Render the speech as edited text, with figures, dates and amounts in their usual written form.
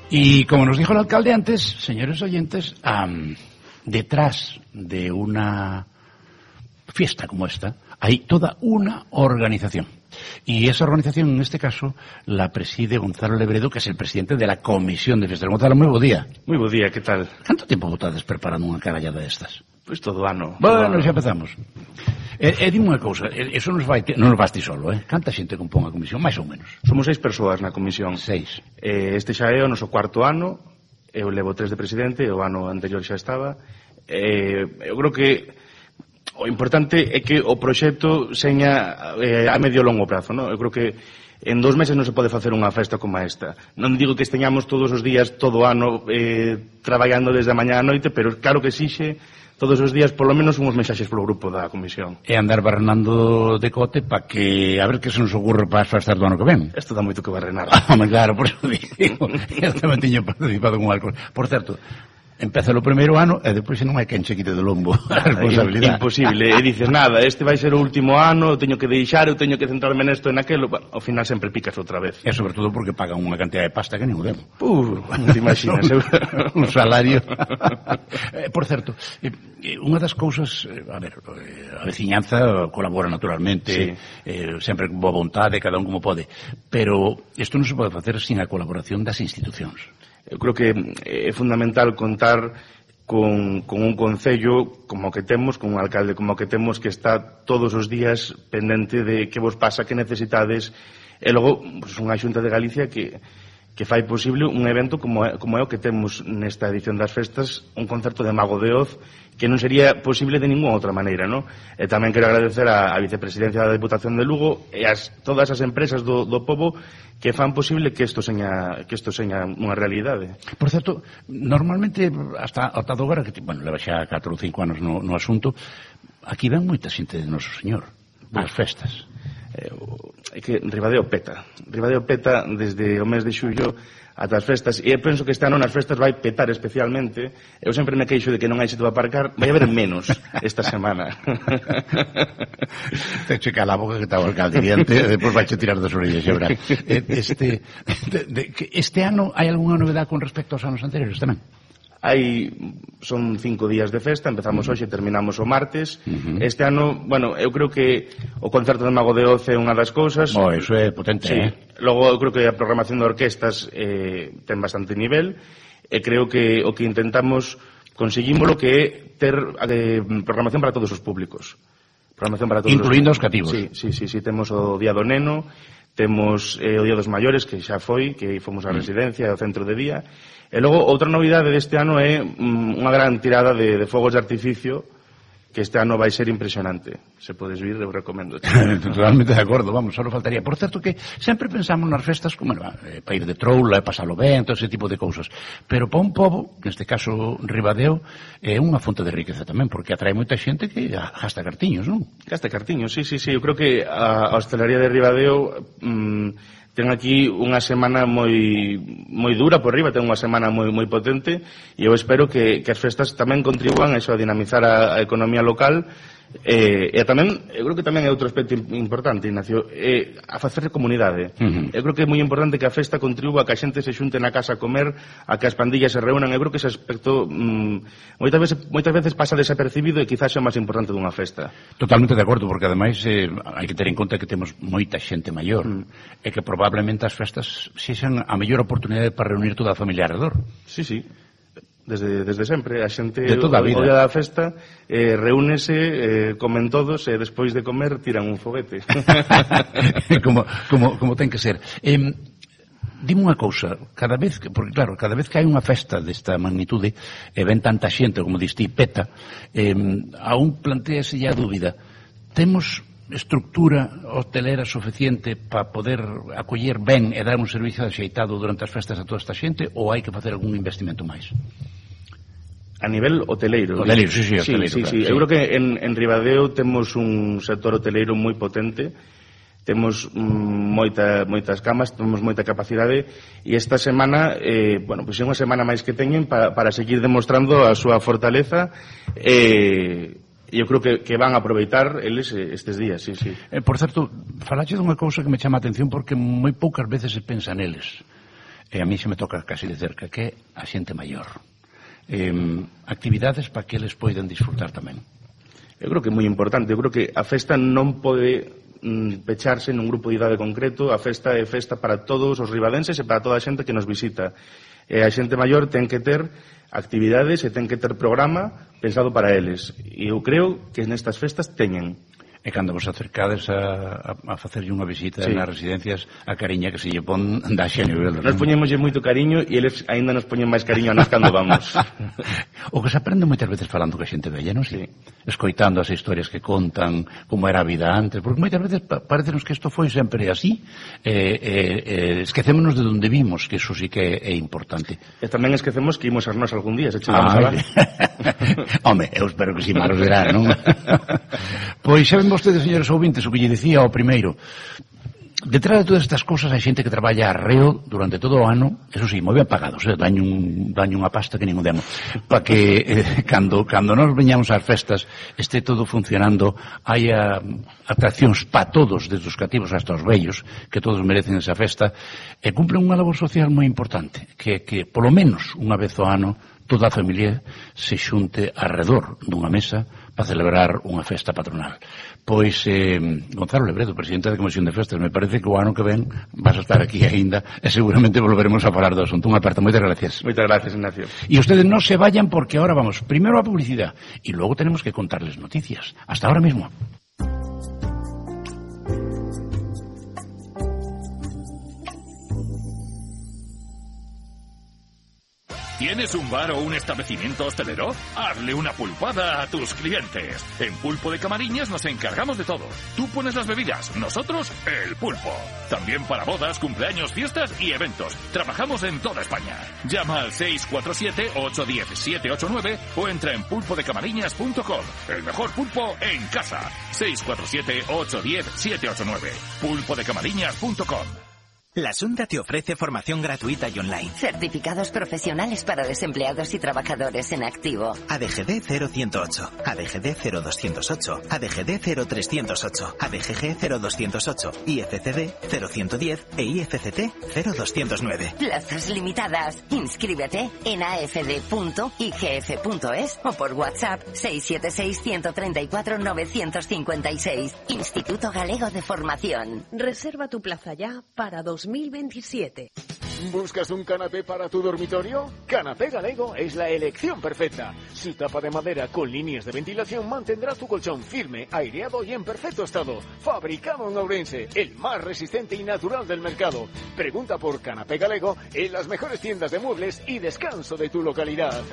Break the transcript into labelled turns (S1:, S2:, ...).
S1: Y como nos dijo el alcalde antes, señores oyentes, detrás de una fiesta como esta hay toda una organización. Y esa organización, en este caso, la preside Gonzalo Lebredo, que es el presidente de la Comisión de Festas. Gonzalo, moi bo día.
S2: Moi bo día, que tal?
S1: Canto tempo botades preparando unha carallada destas?
S2: Pois todo ano.
S1: Bueno, xa empezamos. Dime unha cousa, eso non nos vas ti solo, Canta xente compón a comisión, máis ou menos?
S2: Somos 6 persoas na comisión.
S1: 6.
S2: Este xa é o noso cuarto ano, eu levo 3 de presidente, o ano anterior xa estaba. Eu creo que o importante é que o proxecto seña a medio e longo prazo, non? Eu creo que en 2 meses non se pode facer unha festa como esta. Non digo que esteñamos todos os días, todo o ano, traballando desde a mañá a noite, pero claro que exixe todos os días, polo menos, unhos mensaxes polo grupo da comisión.
S1: E andar barrenando de cote para que, a ver que se nos ocurre para as festas do ano que ven.
S2: Isto dá moito que barrenar.
S1: Claro, por eso digo, eu tamén tiño participado con alcohol. Por certo, empeza o primeiro ano e depois non hai quen che quite do lombo a responsabilidade.
S2: Imposible, e dices nada, este vai ser o último ano, eu teño que deixar, eu teño que centrarme nesto e naquelo, bueno, ao final sempre picas outra vez.
S1: E sobre todo porque pagan unha cantidad de pasta que non o demo.
S2: Non te imaginas.
S1: Un salario. Por certo, unha das cousas, a ver, a veciñanza colabora naturalmente, sempre con boa vontade, cada un como pode, pero isto non se pode facer sin a colaboración das institucións.
S2: Eu creo que é fundamental contar con un concello como que temos, con un alcalde como que temos, que está todos os días pendente de que vos pasa, que necesitades, e logo pues, unha Xunta de Galicia que fai posible un evento como é o que temos nesta edición das festas, un concerto de Mago de Oz, que non sería posible de ninguna outra maneira, non? E tamén quero agradecer a vicepresidencia da Deputación de Lugo e todas as empresas do pobo que fan posible que isto seña unha realidade.
S1: Por certo, normalmente hasta agora, que bueno, leva xa 4 ou 5 anos no asunto, aquí ven moita xente de Noso Señor ás festas.
S2: É que Ribadeo peta desde o mes de xullo ata as festas, e eu penso que este ano nas festas vai petar especialmente. Eu sempre me queixo de que non hai sitio para aparcar, vai haber menos esta semana.
S1: Te checa la boca que está o alcalde diante e depois vai che tirar das orellas, xa verás. Este ano hai algunha novedade con respecto aos anos anteriores tamén?
S2: Son 5 días de festa, empezamos hoxe e terminamos o martes. Este ano, bueno, eu creo que o concerto de Mago de Oz é unha das cousas.
S1: Iso é potente,
S2: Logo, eu creo que a programación de orquestas ten bastante nivel, e creo que o que intentamos conseguímolo que é ter programación para todos os públicos.
S1: Incluindo os cativos.
S2: Sí, temos o Día do Neno, temos o Día dos Maiores, que xa foi, que fomos á residencia, ao centro de día. E logo, outra novidade deste ano é unha gran tirada de fogos de artificio, que este ano vai ser impresionante. Se podes vir, eu recomendo.
S1: Totalmente de acordo, vamos, só faltaría. Por certo que sempre pensamos nas festas como para ir de troula, pasalo ben, todo ese tipo de cousas. Pero para un pobo, neste caso Ribadeo, é unha fonte de riqueza tamén, porque atrae moita xente que gasta cartiños, non?
S2: Gasta cartiños, sí. Eu creo que a hostelería de Ribadeo ten aquí unha semana moi dura por riba, ten unha semana moi potente, e eu espero que as festas tamén contribuan a eso, a dinamizar a economía local, e tamén, eu creo que tamén é outro aspecto importante, Ignacio, a facer comunidade. Eu creo que é moi importante que a festa contribua a que a xente se xunte na casa a comer, a que as pandillas se reúnan. Eu creo que ese aspecto moitas veces pasa desapercibido e quizás é o máis importante dunha festa.
S1: Totalmente de acordo, porque ademais hai que ter en conta que temos moita xente maior, e que probablemente as festas sexan a mellor oportunidade para reunir toda a familia alrededor.
S2: Sí. Desde sempre, a xente
S1: o
S2: día da festa reúnese, comen todos e despois de comer tiran un foguete.
S1: como ten que ser. Dime unha cousa, porque claro, cada vez que hai unha festa desta magnitude e ven tanta xente, como diste, peta, aún plantease a dúbida, temos estructura hotelera suficiente para poder acoller ben e dar un servicio axeitado durante as festas a toda esta xente, ou hai que facer algún investimento máis?
S2: A nivel hoteleiro.
S1: Sí.
S2: Eu creo que en Ribadeo temos un sector hoteleiro moi potente, temos moitas camas, temos moita capacidade, e esta semana, pois é unha semana máis que teñen para seguir demostrando a súa fortaleza, e eu creo que van a aproveitar eles estes días, sí.
S1: Por certo, falache dunha cousa que me chama a atención, porque moi poucas veces se pensa neles. e a mí se me toca casi de cerca, que é a xente maior. Actividades para que eles poidan disfrutar tamén.
S2: Eu creo que é moi importante. Eu creo que a festa non pode pecharse nun grupo de idade concreto. A festa é festa para todos os ribadenses e para toda a xente que nos visita. E a xente maior ten que ter actividades e ten que ter programa pensado para eles. E eu creo que nestas festas teñen.
S1: E cando vos acercades a facerlle unha visita nas residencias, a cariña que se lle pon da xenio.
S2: Nos poñemoslle moito cariño e eles aínda nos poñen máis cariño a nos cando vamos.
S1: O que se aprende moitas veces falando que a xente vella, non?
S2: Sí.
S1: Escoitando as historias que contan, como era a vida antes, porque moitas veces parecenos que isto foi sempre así, esquecémonos de onde vimos, que iso sí que é importante.
S2: E tamén esquecemos que imos a nós algún día, se chegamos a lá.
S1: Home, eu espero que si malo será, non? Pois xa ven vostedes, señores ouvintes, o que lle dicía ao primeiro. Detrás de todas estas cosas hai xente que traballa arreo durante todo o ano, eso sí, moi ben pagados, daño unha pasta que nin o demo, para que cando nos veñamos ás festas este todo funcionando, hai atraccións para todos, desde os cativos hasta os vellos, que todos merecen esa festa, e cumplen unha labor social moi importante, que polo menos unha vez ao ano toda a familia se xunte arredor dunha mesa para celebrar unha festa patronal. Pois, Gonzalo Lebredo, presidente da Comisión de Festas, me parece que o ano que ven vas a estar aquí aínda e seguramente volveremos a falar do asunto. Unha aperta, moitas gracias.
S2: Moitas gracias, Ignacio.
S1: E ustedes non se vayan porque ahora vamos primero a publicidad e logo tenemos que contarles noticias. Hasta ahora mismo.
S3: ¿Tienes un bar o un establecimiento hostelero? Hazle una pulpada a tus clientes. En Pulpo de Camariñas nos encargamos de todo. Tú pones las bebidas, nosotros el pulpo. También para bodas, cumpleaños, fiestas y eventos. Trabajamos en toda España. Llama al 647-810-789 o entra en pulpodecamariñas.com. El mejor pulpo en casa. 647-810-789. pulpodecamariñas.com.
S4: La Xunta te ofrece formación gratuita y online.
S5: Certificados profesionales para desempleados y trabajadores en activo.
S4: ADGD 0108, ADGD 0208, ADGD 0308, ADGG 0208, IFCD 0110 e IFCT 0209.
S5: Plazas limitadas. Inscríbete en afd.igf.es o por WhatsApp 676-134-956. Instituto Galego de Formación.
S6: Reserva tu plaza ya para 2027.
S7: ¿Buscas un canapé para tu dormitorio? Canapé Galego es la elección perfecta. Su tapa de madera con líneas de ventilación mantendrá tu colchón firme, aireado y en perfecto estado. Fabricado en Ourense, el más resistente y natural del mercado. Pregunta por Canapé Galego en las mejores tiendas de muebles y descanso de tu localidad.